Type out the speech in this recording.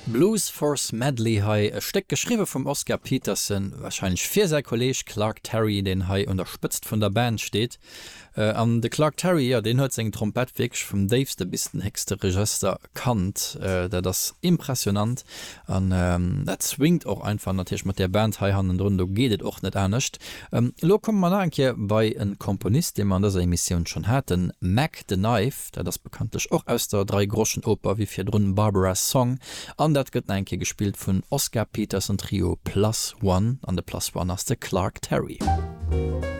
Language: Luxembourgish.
Blues for Smedley hei, e Stéck geschriwwe vum Oscar Peterson, warscheinlech fir säi Kolleeg Clark Terry, deen hei un der Spëtzt vun der Band steet. An de Clark Terry, jo, deen huet seng Trompett wierklech vum déifste bis den héchste Regëster kannt. Dat ass impressionant an dat swingt och einfach natierlech mat där Band hei hannendrun, do geet et och net anescht. Elo komme mer nach eng Kéier bei e Komponist, dee mer an dëser Emissioun schonn haten, Mack the Knife. Dat ass bekanntlech och aus der Dreigroschenoper, wéi virdrun Barbara's Song, an dat gëtt nach eng Kéier gespillt vun Oscar Peterson Trio Plus One, an de Plus One ass de Clark Terry.